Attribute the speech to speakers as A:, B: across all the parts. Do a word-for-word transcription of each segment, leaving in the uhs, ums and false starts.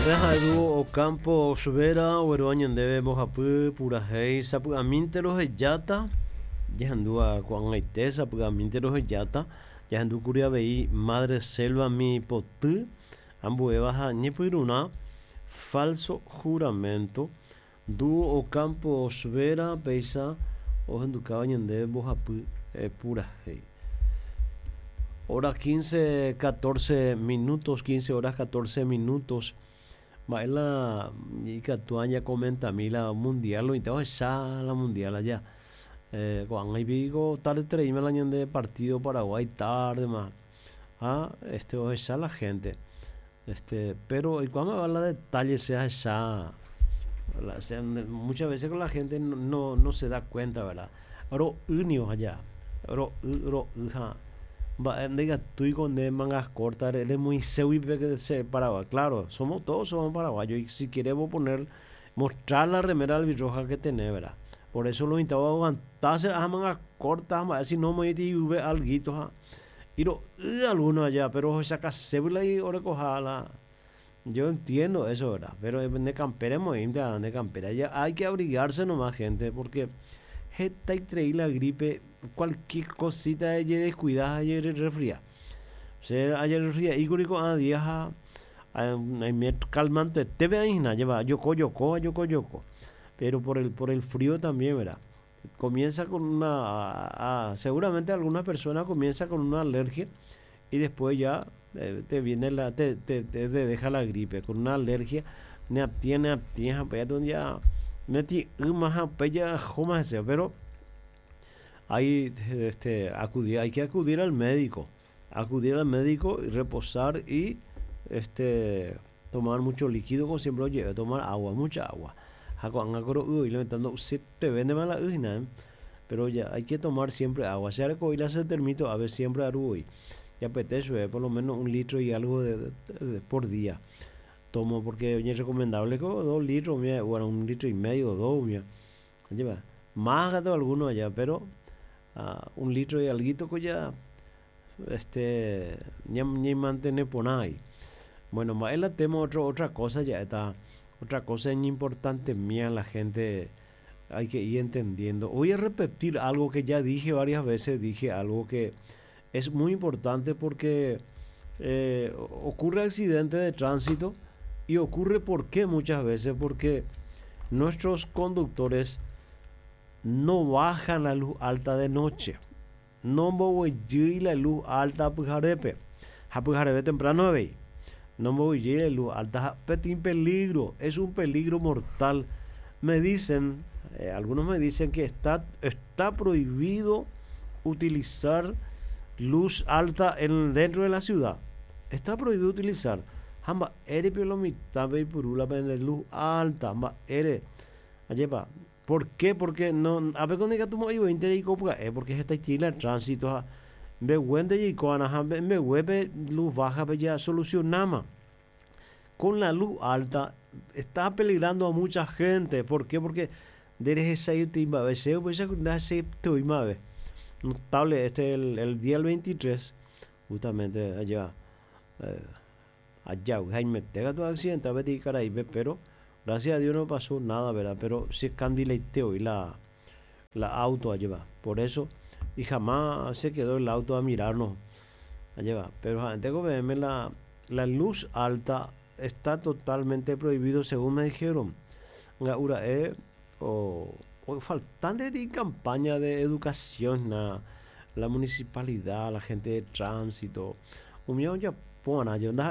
A: Dúo Ocampo Vera oguerúva ñandéve mbohapy purahéi sapy'amínte rohejáta jahendúva ko'ag̃aite sapy'amínte rohejáta jahendúkuri avei Madre Selva mi poty ambuéva ha ñepyrũrã Falso Juramento Dúo Ocampo Vera péicha ohendukáva ñandéve mbohapy purahéi. Hora quince, catorce minutos, quince horas catorce minutos. Mba'e la ikatu ñacomentami la mundial oĩta ohecha la mundial allá. Eh, ko'ág̃a ipiko tardetereíma la ñande partido Paraguay tardema ha este ohecha la gente. Este, pero oikuaáma la detalle se ahecha la, se, muchas veces con la gente no, no, no se da cuenta, ¿verdad? Ro'ýnio allá, ro'y, ro'y ha mba'e ndaikatúi nde mangas cortas remoĩségui que se Paraguay. Claro, somos todos somos paraguayos y si queremos poner mostrar la remera albirroja que tenés, ¿verdad? Por eso lo intentaba aguantarse las mangas cortas, si no me alguito ha. Y ro'y algunos allá, pero sacasébula y orecoja Yo entiendo eso, ¿verdad? Pero de campera de campera ya hay que abrigarse nomás, gente, porque y la gripe, cualquier cosita de descuidada ayer resfría. O sea, ayer resfría y curico a días a calmante te ve ahí lleva yoko yoko yoko yoko. Pero por el por el frío también, ¿verdad? Comienza con una a, seguramente alguna persona comienza con una alergia y después ya eh, te viene la te, te, te deja la gripe con una alergia ne abtiene abtiene ya neti más pero hay este acudir hay que acudir al médico acudir al médico y reposar y este tomar mucho líquido, como siempre oye, tomar agua, mucha agua. Y levantando se te vende mal la pero ya hay que tomar siempre agua. Se se termito a ver siempre aruy. Ya apetece por lo menos un litro y algo de, de, de, por día. Tomo porque es recomendable como dos litros, mira, bueno, un litro y medio, dos, mira. Lleva más gato alguno allá, pero uh, un litro y alguito que ya este ni ni mantener por ahí. Bueno, más el tema otro, otra cosa ya está, otra cosa importante mía, la gente hay que ir entendiendo. Voy a repetir algo que ya dije varias veces, dije algo que es muy importante porque eh, ocurre accidente de tránsito y ocurre por qué muchas veces, porque nuestros conductores no bajan la luz alta de noche. No voy la luz alta pyharepe. Ha pyhareve temprano ve. No voy la luz alta, petín peligro, es un peligro mortal. Me dicen, eh, algunos me dicen que está, está prohibido utilizar luz alta en, dentro de la ciudad. Está prohibido utilizar. Hamba ere piolomita purula luz alta, hamba ere. Ayepa. ¿Por qué? Porque no, a ver cuando tu mo eh, porque está el tránsito, ve wende y coana, me webe luz baja, ya solucionama. Con la luz alta está peligrando a mucha gente. ¿Por qué? Porque desde esa notable este el, el día el veintitrés, justamente allá, eh, allá, Jaime, tenga tu accidente, a ver, Caraíbe, pero gracias a Dios no pasó nada, ¿verdad? Pero se candileteó y la, la auto allá va. Por eso, y jamás se quedó el auto a mirarnos allá va. Pero antes que la, la luz alta está totalmente prohibido, según me dijeron. Eh, o, o faltante de campaña de educación, na, la municipalidad, la gente de tránsito. Un ya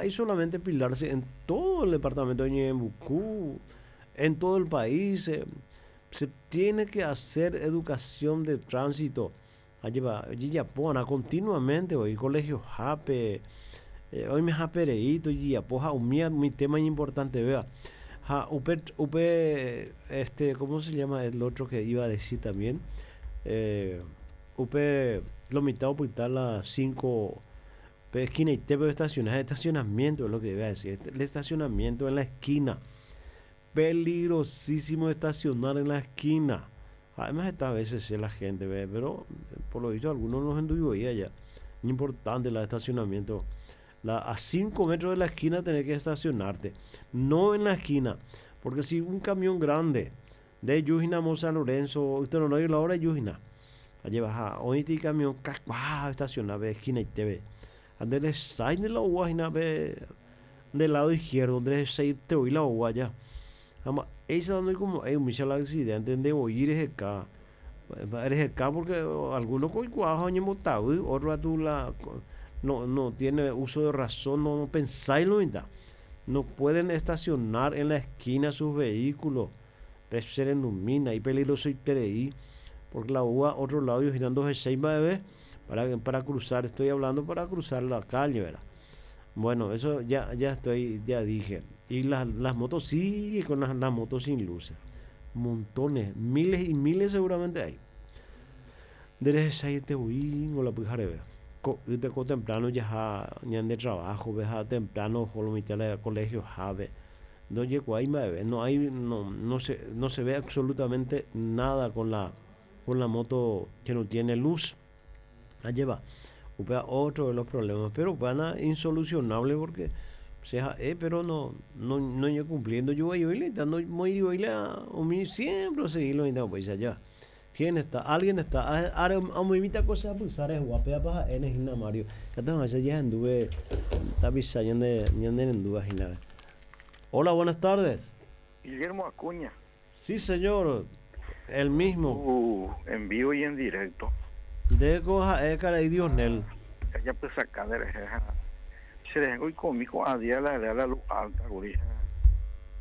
A: y solamente pilarse en todo el departamento de Ñeembucú, en todo el país. Eh, se tiene que hacer educación de tránsito. Allí va, continuamente hoy, colegio Jape, eh, hoy me japereíto, y apoja, mi tema importante, vea. Ja, upe, upe, este, ¿cómo se llama el otro que iba a decir también? Eh, upe, lo mitad o las cinco esquina y te estacionar, estacionamiento es lo que iba a decir, el estacionamiento en la esquina, peligrosísimo estacionar en la esquina. Además esta veces la gente ve, pero por lo visto algunos no enduido allá. Importante el estacionamiento La, a cinco metros de la esquina tenés que estacionarte, no en la esquina, porque si un camión grande de Yujina San Lorenzo, usted no lo la hora de Yujina, allí baja, hoy este camión, estacionaba esquina y te ve. Andele sai de la uva ve del lado izquierdo, donde se te oí la uva ya. Ama, esa no como, hay un accidente de oír ese acá. Eres acá porque algunos con cuajo otro a tu la no no tiene uso de razón, no, no pensáis lo No pueden estacionar en la esquina sus vehículos. Se ilumina y peligroso y tereí, porque la uva otro lado y girando seis bebé para para cruzar, estoy hablando para cruzar la calle, ¿verdad? Bueno, eso ya ya estoy, ya dije. Y las, las motos sigue con las, las motos sin luces. Montones, miles y miles seguramente hay. Desde te o la pujarebe. De temprano ya de trabajo, veja temprano, al colegio, jave. No llego ahí, no hay, no, no se, no se ve absolutamente nada con la, con la moto que no tiene luz. La lleva. Otro de los problemas, pero van a insolucionable porque sea, eh, pero no, no, no yo cumpliendo. Yo voy a no voy a siempre seguirlo y no pues allá. ¿Quién está? Alguien está. Ahora a mi cosa pulsar es guapea para en Mario. Que tengo ya anduve tapisa ñande ñande anduve gina. Hola, buenas tardes.
B: Guillermo Acuña.
A: Sí, señor. El mismo.
B: Uh, en vivo y en directo.
A: De coja e cara y Dios nel.
B: Ya pues acá de se le y conmigo a día la la luz alta, gurija.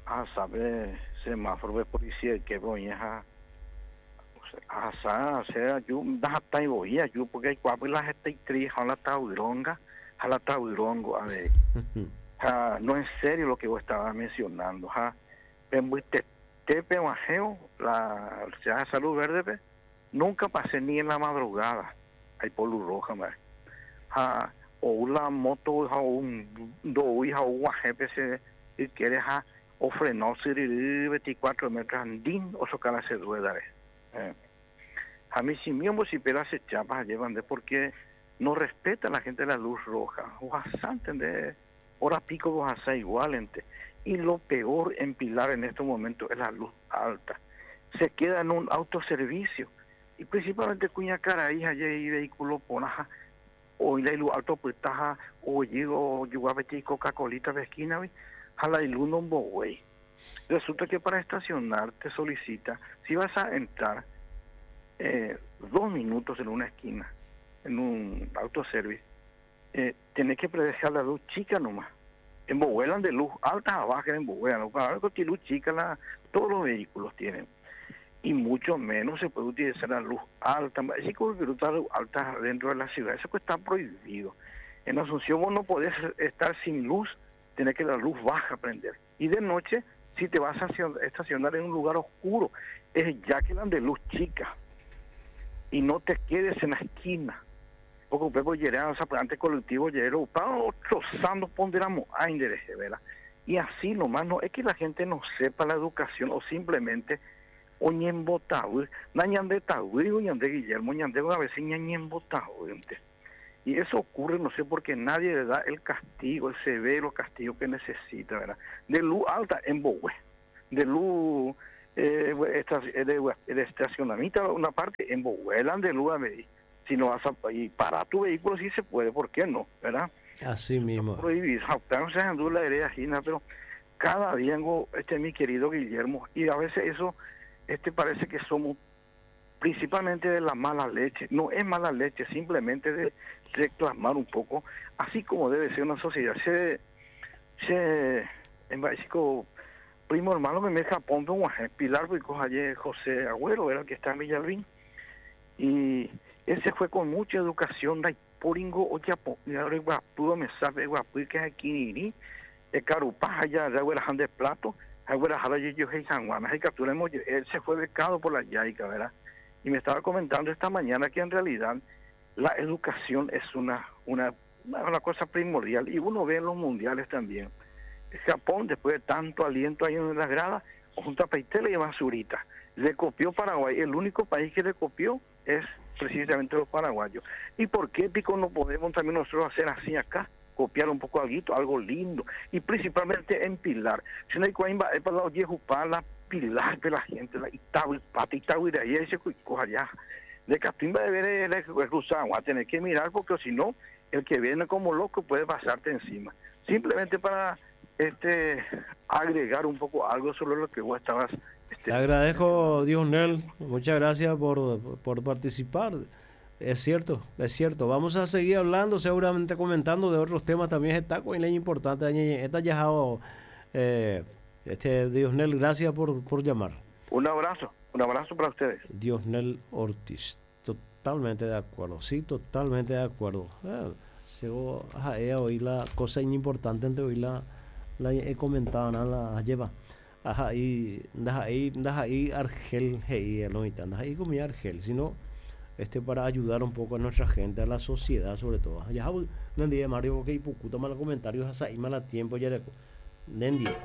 B: Ah, sabe semáforo de policía que voy a asa, o sea, yo da tai voy yo porque hay cuatro la gente tri jala tauronga, jala taurongo, a ver. Ja, no es serio lo que vos estabas mencionando, ja. Tepe bajeo, la sea salud verde, pe, nunca pasé ni en la madrugada. Hay por luz roja, ma. Ja, o la moto o un do hija o guajepe se y quiere ja o frenó veinticuatro metros andín o socar se rueda. Eh. A mí si mismo si pela se chapa llevan de porque no respeta a la gente la luz roja. O de hora pico vos hacer igual ente. Y lo peor en Pilar en estos momentos es la luz alta. Se queda en un autoservicio. Y principalmente cuña cara hija y vehículo ponaja o la luz alto pues taja o llego yo a pedir Coca-Colita de esquina jala y luz no güey. Resulta que para estacionar te solicita, si vas a entrar eh, dos minutos en una esquina, en un autoservice, eh, tenés que dejar la luz chica nomás. En Bohuelan de luz alta a baja en Bohuelan, para algo que luz chica la, todos los vehículos tienen. Y mucho menos se puede utilizar la luz alta. Si la luz alta dentro de la ciudad, eso está prohibido. En Asunción vos no podés estar sin luz, tenés que la luz baja prender. Y de noche, si te vas a estacionar en un lugar oscuro, es ya que la de luz chica. Y no te quedes en la esquina. Porque usted puede llegar, o sea, antes colectivo, llegar, trozando, ponderamos, ¿verdad? Y así nomás, no es que la gente no sepa la educación o simplemente oñembotado, nañande taui, oñande Guillermo, ñande a veces ñañembotado. Y eso ocurre, no sé por qué nadie le da el castigo, el severo castigo que necesita, ¿verdad? De luz alta en Bohue, de luz eh, de, de estacionamiento, una parte en Bohue, de luz a medir. Si no vas a y para tu vehículo sí se puede, ¿por qué no? ¿Verdad?
A: Así mismo.
B: Prohibir, no se la hereda, pero cada día, este mi querido Guillermo, y a veces eso este parece que somos principalmente de la mala leche. No es mala leche, simplemente de reclamar un poco, así como debe ser una sociedad. Se, se, en básico, primo hermano me me Japón, Pilar, porque José Agüero era el que está en Villalbín, y ese fue con mucha educación, de poringo o yapo, guapudo me sabe guapu que es aquí de carupaja ya de plato, él se fue becado por la Yaica, ¿verdad? Y me estaba comentando esta mañana que en realidad la educación es una, una, una cosa primordial, y uno ve en los mundiales también. Japón, después de tanto aliento ahí en las gradas, junto a Peitele y Basurita, le copió Paraguay. El único país que le copió es precisamente los paraguayos. ¿Y por qué, Pico, no podemos también nosotros hacer así acá? Copiar un poco algo, algo lindo, y principalmente en Pilar. Si no hay para la la Pilar de la gente, la Itahuipata, Itahuiraí, ese allá. De Catimba debe de cruzar, a tener que mirar porque si no, el que viene como loco puede pasarte encima. Simplemente para este agregar un poco algo sobre lo que vos estabas...
A: Este, Te agradezco, Diosnel, muchas gracias por, por participar. Es cierto, es cierto. Vamos a seguir hablando, seguramente comentando de otros temas también. Está con importante. Está ya eh, este Diosnel, gracias por, por llamar.
B: Un abrazo, un abrazo para ustedes.
A: Diosnel Ortiz, totalmente de acuerdo, sí, totalmente de acuerdo. Eh, oí la cosa importante entre hoy la, la he comentado, la lleva. Ajá, y ahí, ahí Argel, hey, no, ahí como Argel, sino este para ayudar un poco a nuestra gente, a la sociedad sobre todo. Ya, Mario, ok, pucuta mal comentarios, ahí mal tiempo, ya, Nendie.